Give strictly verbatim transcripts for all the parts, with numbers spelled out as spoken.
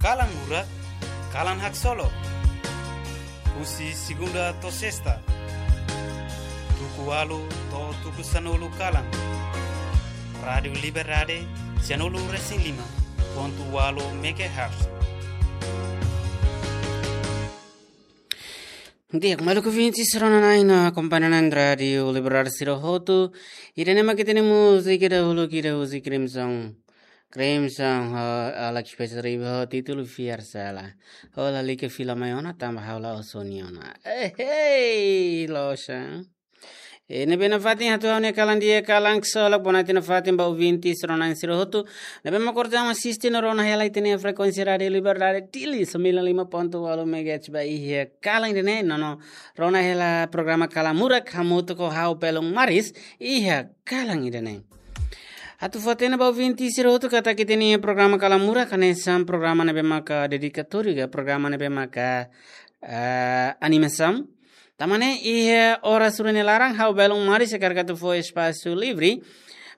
Kalan Murak, kalan haksolok. Husi segunda to'o sesta, tuku ualu to'o tuku sanulu kalan. Rádiu Liberdade, sianulu resin lima pontu ualu megahertz. Di'ak, maluk ouvintes, rona-na'in no akompaña na'in Rádiu Liberdade sira hotu. Ida-ne'e mak ita-nia múzika dahuluk ida husi Crimson. Crimson ho Alex Pestri ho títulu Fiar Sala. Ha'u lalika fila mai ona tanba ha'u la'ós ó-nia ona. Eh, hey, loja. Eh, ne'ebé nafatin hato'o ha'u-nia kalan di'ak, kalan haksolok, bonatin nafatin ba ouvintes rona-na'in sira hotu. Ne'ebé mak orsida asiste no rona hela ita-nia frekuénsia Rádiu Liberdade Dili, sembilan lima ponto ualu megahertz ba iha kalan ida-ne'e, no no rona hela programa Kalan Murak hamutuk ho ha'u Belun Maris iha kalan ida-ne'e. Atu fó-hatene ba ouvintes sira hotu katak ita-nia programa Kalan Murak hanesan programa ne'ebé maka dedikatóriu ka programa ne'ebé maka, eh, animasaun. Tanba ne'e iha oras rua nia laran ha'u Belun Maris hakarak atu fó espasu livre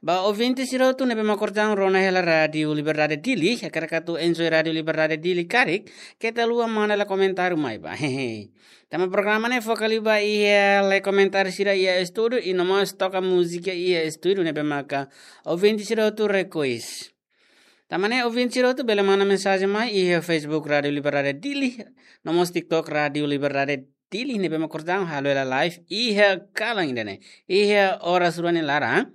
ba ouvintes sira hotu ne'ebé mak orsida rona hela Rádiu Liberdade Dili, hakarak atu enjoy Rádiu Liberdade Dili karik, keta haluha manda hela komentáriu mai ba. Hehe. Tanba programa ne'e foka liu ba iha lee komentáriu sira iha estúdiu, i no mós toka múzika iha estúdiu ne'ebé maka ouvinte sira hotu request. Tanba ne'e ouvinte sira hotu bele manda mensajen mai iha Facebook Rádiu Liberdade Dili, no mós TikTok Rádiu Liberdade Dili ne'ebé mak orsida halo hela live iha kalan ida-ne'e, iha oras rua nia laran.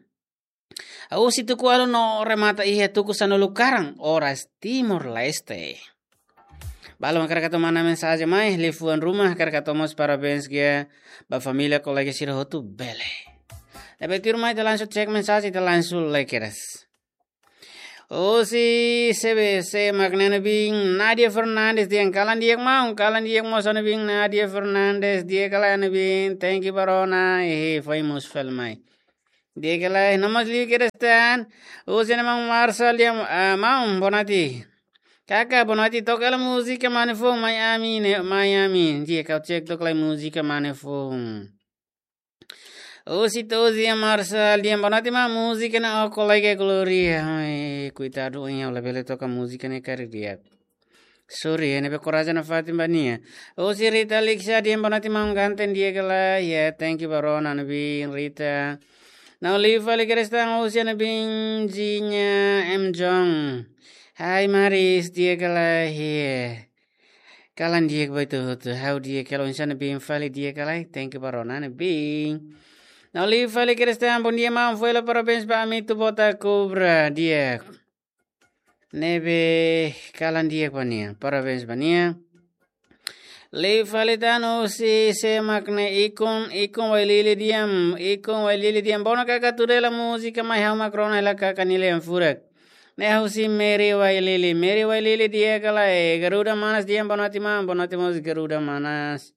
Husi tuku ualu no remata iha tuku sanulu kalan, oras Timor-Leste. Balu hakarak atu manda mensajen mai, liafuan ruma, hakarak atu mós parabéns ba família, kolega sira hotu bele. Ne'ebé tuirmai ita langsung cek mensajen, ita langsung lee kedas. Husi C B C mak ne'e ne'ebé, Nadia Fernandes dehan kalan di'ak maun, kalan di'ak mós ne'ebé, Nadia Fernandes, di'ak ka lae ne'ebé, thank you ba rona, eh, famous film mai. Di'ak ka lae, no mós liu kedas tan. Husi ne'e maun Marsa dehan, ah, maun, bonatin. Kaka, bonatin, toka hela múzika mane foun, mai ami ne'e, mai ami. Di'ak, ha'u cek toka lai múzika mane foun. Husi Tozia Marsa dehan bonatin maun, múzika ne'e ó kolega Gloria. Ai, koitadu, ha'u labele toka múzika ne'e karik di'ak. Sorry, ne'ebé korajen nafatin ba nia. Husi Rita Lixa dehan bonatin maun, ganteng di'ak ka lae, ya, thank you ba rona ne'ebé Rita. No liu fali kedas tan husi ne'ebé Jinja M Jong. Hai Maris, di'ak ka lae, ya. Kalan di'ak ba ita hotu, ha'u di'ak, kalau insana bin fali di'ak ka lae, thank you ba rona ne'ebé. No liu fali kedas tan, bondia maun, foin hela parabéns ba ami tu bota kubra, di'ak. Ne'ebé kalan di'ak ba nia, parabéns ba nia. Liu fali tan husi sé mak ne'e, Ikun, Ikun Wailili dehan, Ikun Wailili dehan, bonatin kaka tuda hela múzika mai ha'u mak rona hela kaka nia lian furak. Ne'e husi Mary Wailili, Mary Wailili di'ak ka lae, Garuda Manas dehan bonatin maun, bonatin mós Garuda Manas.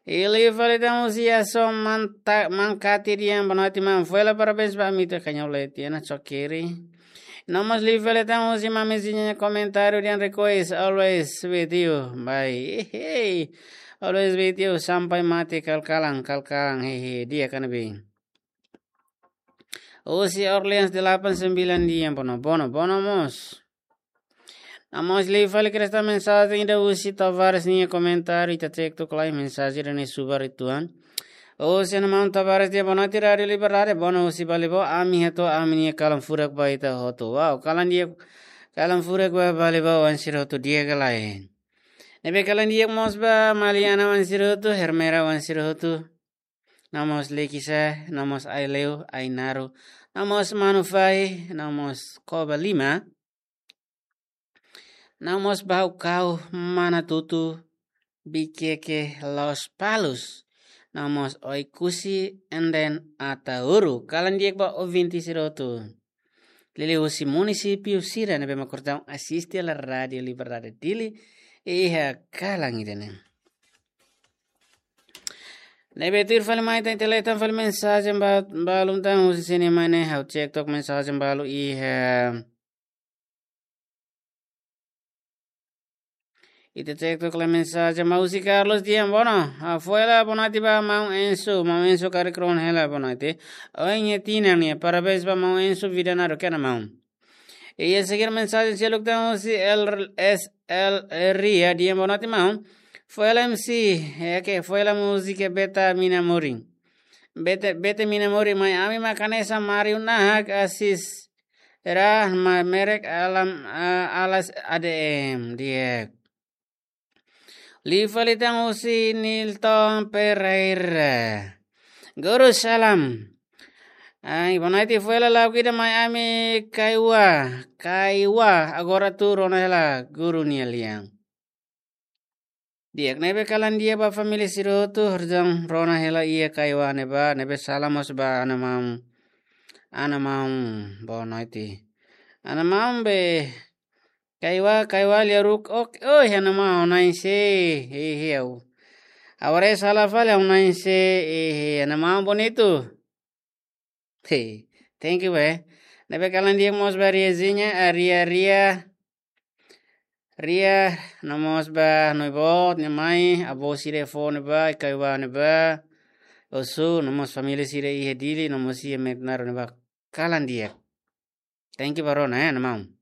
I liu fali tan husi Yason Manta-, Mankati dehan bonatin maun, foin hela parabéns ba ami tu kanyo leti, na chokiri. No mós liu fali tan husi Mami Zinha komentáriu dehan request, always with you, bye. Hehe. Always with you, sampai mati kal-kalan, kal-kalan, hehe, di'ak ka ne'ebé. Husi Orleans delapan sembilan dehan bonatin, bonatin, bonatin mós. No mós liu fali kedas tan mensajen ida husi Tavares nia komentáriu, ita cek toka lai mensajen ida-ne'e subar uitoan. Husi ne'e maun Tavares dehan bonatin Rádiu Liberdade, bonatin husi Balibau, ami hato'o ami-nia kalan furak ba ita hotu. Wow, kalan di'ak, kalan furak ba Balibau, oan sira hotu di'ak ka lae. Ne'ebé kalan di'ak mós ba Maliana oan sira hotu, Hermera oan sira hotu. No mós Lekisa, no mós Aileu, Ainaru, no mós Manufai, no mós Koba Lima. No mós Baucau, Manatuto, Viqueque, Lospalos. No mós Oekusi, and then Ataúro. Kalan di'ak ba ouvinte sira hotu. Liuliu husi munisípiu sira ne'ebé mak orsida asiste hela Rádiu Liberdade Dili iha kalan ida-ne'e. Ne'ebé tuir fali mai tan, ita lee tan fali mensajen ba, balun tan husi sini mai ne'e, ha'u cek took mensajen balu iha. Ita cek took lai mensajen mai husi Carlos dehan bonatin, ah, foin hela bonatin ba maun Enzo, maun Enzo karik rona hela bonatin. Ohin iha tinan nian, parabéns ba maun Enzo, vida naruk ona maun. Iha seguir mensajen seluk tan husi L S L Ria, dehan boa noite maun. Foila M C, é que foila múzika Beta Mina Morin. Beta, Beta Mina Morin, mai ami mak hanesan Mario Nahak Asis. Rah ma merek alam, ah, alas A D M, di'ak. Liu fali tan husi Nilton Pereira. Guru salam. Ai, boa noite, foila lagu ida mai ami Kaiwa. Kaiwa, agora atu rona hela guru nia lian. Di'ak, ne'ebé kalan di'ak ba família sira hotu, horizaun rona hela iha Kaiwa ne'ebá, ne'ebé salam mós ba ana maun. Ana maun, boa noite. Ana maun be, Kaiwa, Kaiwa lia ruk, ok, oi, ana maun, na'in se, hehe, au. Agora é sala fali, au na'in se, hehe, ana maun bonitu. Hey, thank you, eh. Ne'ebé kalan di'ak mós ba Riazinha, ah, Ria, Ria. Ria, no mós ba, no boot, nia mai, avó sira fó ne'ebá, Kaiwa ne'ebá. Osu, no mós família sira iha Dili, no mós iha Metnaro ne'ebá. Kalan di'ak. Thank you ba rona, eh, ana maun.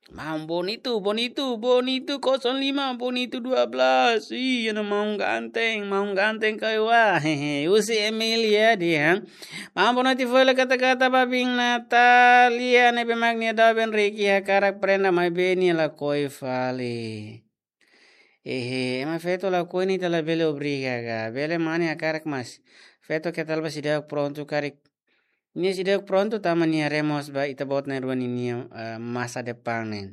Maun bonitu, bonitu, bonitu, kosong lima, bonitu dua belas. Ih, ana maun ganteng, maun ganteng Kaiwa. Hehe, husi Emilia dehan. Maun boa noite, foila kata-kata ba biin Natalia ne'ebé mak nia doben Riki hakarak prenda maibé nia lakohi fali. Ehe, ema feto lakohi ne'e ita labele obriga ka. Bele mane hakarak mas. Feto keta la ba seidauk prontu karik. Nia seidauk prontu tanba nia haree mós ba ita-boot na'in-rua ninia, eh, masa depan ne'e.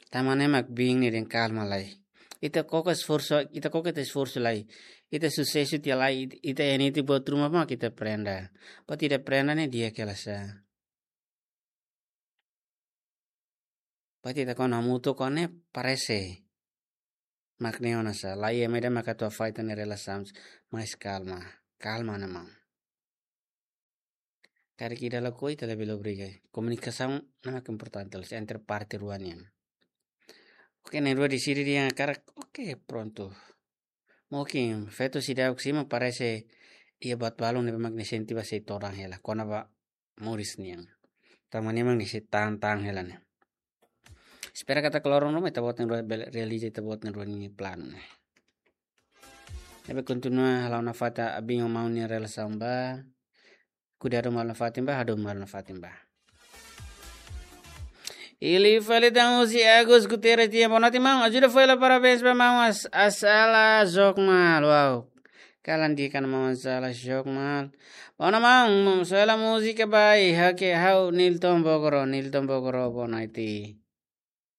Tanba ne'e mak biin ne'e dehan kalma lai. Ita koko esforsu, ita koko ita esforsu lai. Ita susesu tiha lai, it-, ita iha netik buat ruma mak ita prenda. Buat ida prenda ne'e di'ak hela sa. Buat ida kona mutu kone parese. Mak ne'e ona sa, la iha ema ida mak atu afeta nia relasaun, mas kalma, kalma ana maun. Karik ida lakohi ita labele obriga. Komunikasaun ne'e mak importante loos entre parte rua nian. Oke, na'in-rua deside dehan hakarak, oke, prontu. Mungkin feto seidauk simu parese iha buat balun ne'ebé mak nia sente ba sei todan hela. Kona-ba moris nian. Tanba ne'e mak nia sei tan-tan hela ne'e. Espera katak loron ruma ita-boot na'in-rua bele realiza ita-boot na'in-rua nia planu ne'e. Ne'ebé kontinua halo nafatin ba biin ho maun nia relasaun ba. Kuidadu malu nafatin ba, hadomi malu nafatin ba. Liu fali tan husi Agus Guterres dehan boa noite maun. Ajuda foila parabéns ba maun As-, Asala Jokmal. Wow. Kalan di'ak ana maun Asala Jokmal. Boa noite maun, maun soela múzika ba Hake Hau Nilton Bogoro, Nilton Bogoro, boa noite.